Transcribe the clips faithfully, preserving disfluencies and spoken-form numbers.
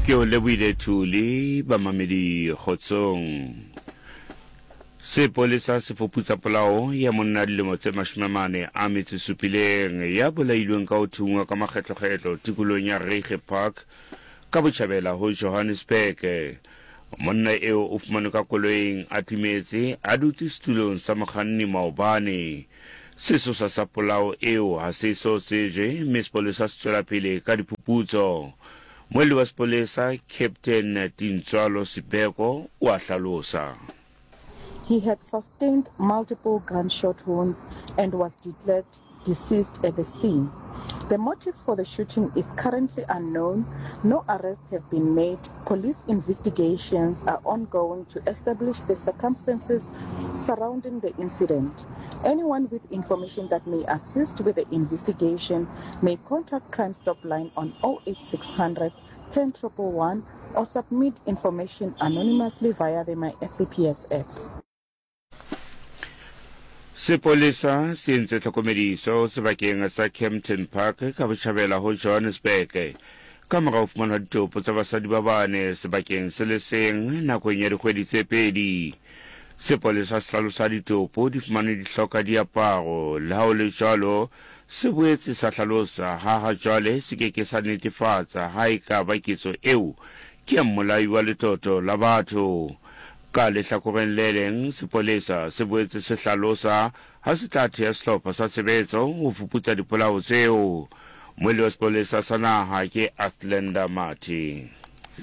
Ke o lebohile Thuli, bamamedi kgotsong. Sepolesa se fuputsa polao ya monna dilemo tse mashome a mane a metso e supileng ya bolailweng ka ho thungwa ka makgetlokgetlo tikolong ya Reiger Park ka botjhabela ho Johannesburg. Monna eo o fumanwe ka koloing a timetse a dutse setulong sa mokganni maobane. Sesosa sa polao eo ha se so tsejwe mme sepolesa se tswela pele ka diphuputso. Moelli wa sepolesa Captain Tintswalo Sibeko o a hlalosa. He had sustained multiple gunshot wounds and was declared deceased at the scene. The motive for the shooting is currently unknown. No arrests have been made. Police investigations are ongoing to establish the circumstances surrounding the incident. Anyone with information that may assist with the investigation may contact Crime Stop Line on oh eight six hundred ten triple one or submit information anonymously via the My S A P S app. Sepolesa se entse tlhokomediso sebakeng sa Kempton Park ka botjhabela ho Johannesburg ka mora ho fumanwa ditopo tsa basadi ba bane sebakeng se le seng nakong ya dikgwedi tse pedi. Sepolesa se hlalosa ditopo di fumanwe di hloka diaparo, le ha ho le jwalo se boetse sa hlalosa ha ha jwale se ke ke sa netefatsa ha e ka ba ketso eo ke ya mmolai wa letoto la batho. Ka lehlakoreng le leng, sepolesa se boetse se hlalosa ha se tla thea sehlopha sa tshebetso ho fuputsa dipolao tseo. Moelli wa sepolesa sa naha ke Athlenda Mathe.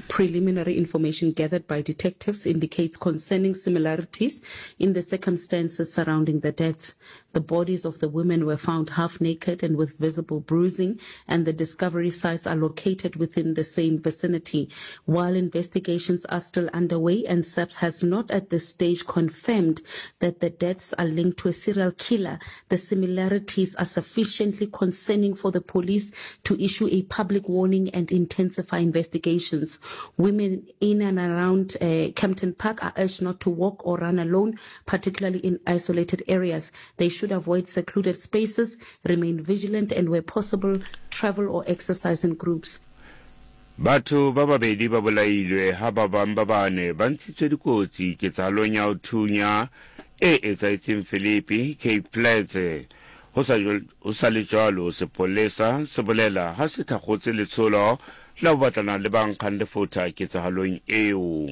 Preliminary information gathered by detectives indicates concerning similarities in the circumstances surrounding the deaths. The bodies of the women were found half naked and with visible bruising, and the discovery sites are located within the same vicinity. While investigations are still underway and S A P S has not at this stage confirmed that the deaths are linked to a serial killer, the similarities are sufficiently concerning for the police to issue a public warning and intensify investigations. Women in and around, uh, Kempton Park are urged not to walk or run alone, particularly in isolated areas. They should avoid secluded spaces, remain vigilant, and where possible, travel or exercise in groups. Batho ba babedi ba bolailwe ha ba bang ba bane ba ntshitswe dikotsi ketsahalong ya ho thunya e etsahetseng Philippi, Cape Flats. Ho sa jwal-, ho sa le jwalo, sepolesa se bolela ha se thakgotse letsholo la ho batlana le ba nkgang lefotha ketsahalong eo.